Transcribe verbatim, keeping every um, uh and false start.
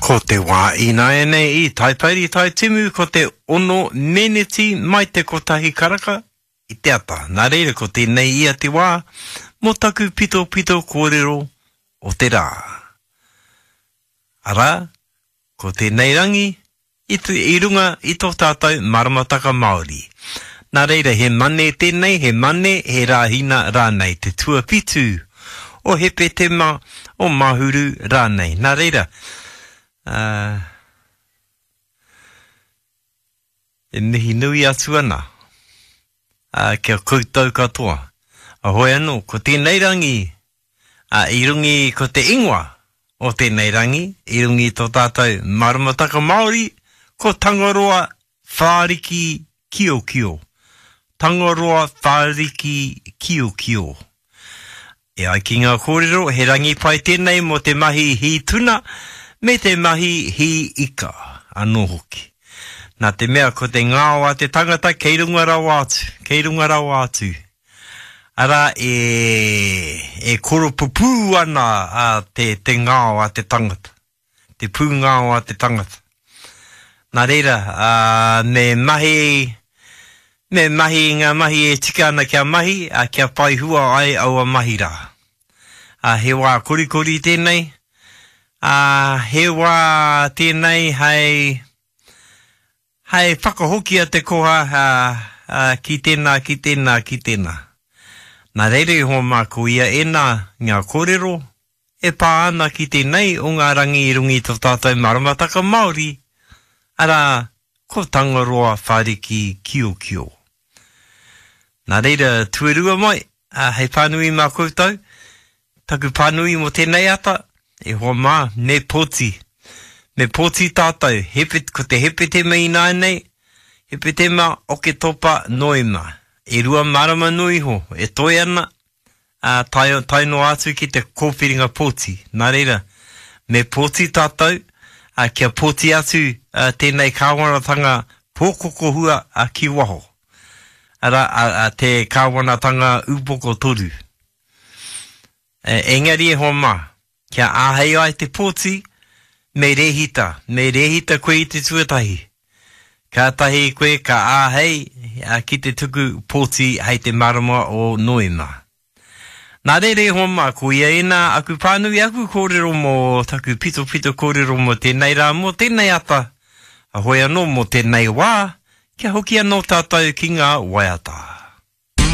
Ko te wā ināianei i Taipari Taitimu ko te ono meneti mai te kotahi karaka i te ata. Nā reira ko tēnei ia te wā mō taku pitopito kōrero o te rā. Arā, ko tēnei rangi i, i runga i tō tātou maramataka Māori. Nā reira, he mane tēnei, he mane, he rāhina rānei, te tuawhitu o Hepetema o Mahuru rānei. Nā reira, uh, e mihi nui atu ana uh, kia koutou katoa. A hoi anō, ko tēnei rangi, uh, i rungi ko te ingoa o tēnei rangi, i rungi tō tātou maramataka Māori, ko Tangaroa Whāriki Kiokio. Tangaroa Whāriki Kiokio. E ai ki ngā kōrero, he rangi pai tēnei mō te mahi hī tuna me te mahi hī ika anō hoki. Nā te mea ko te ngao a te tangata kei runga rawa atu, kei runga rawa atu. Arā e, e koropupū ana a te, te ngao a te tangata, te pūngao a te tangata. Nā reira, a, me mahi, me mahi ngā mahi e tika ana kia mahi, a, kia whai hua ai aua mahi rā. A, he wā korikori tēnei, a, he wā tēnei hei, hei whakahokia te koha a, a, ki tēnā, ki tēnā, ki tēnā. Nā reira iho mā ko ia ēnā ngā kōrero e pā ana ki tēnei o ngā rangi i runga i tō tātou maramataka Māori, arā, ko Tangaroa Whāriki Kiokio. Nā reira, tuarua mai, a, hei pānui mā koutou, taku pānui mō tēnei ata, e hoa mā, me pōti. Me pōti tātou, hepe, ko te Hepetema ināianei, Hepetema, Oketopa, Noema. E rua marama noa iho, e toe ana, a, tae, tae noa atu ki te kōwhiringa pōti. Nā reira, me pōti tātou, a, kia pōti atu a, tēnei kāwanatanga pōkokohua a, ki waho. Arā, a, a, te kāwanatanga upoko toru. E, engari e hoa mā, kia āhei ai te pōti, me rēhita, me rēhita koe i te tuatahi. Kātahi koe ka āhei a, ki te tuku pōti hei te marama o Noema. Nā reira e hoa mā, ko ia ēnā aku pānui, aku kōrero mō taku pitopito kōrero mō tēnei rā, mō tēnei ata, a hoi anō mō tēnei wā, kia hoki anō tātou ki ngā waiata.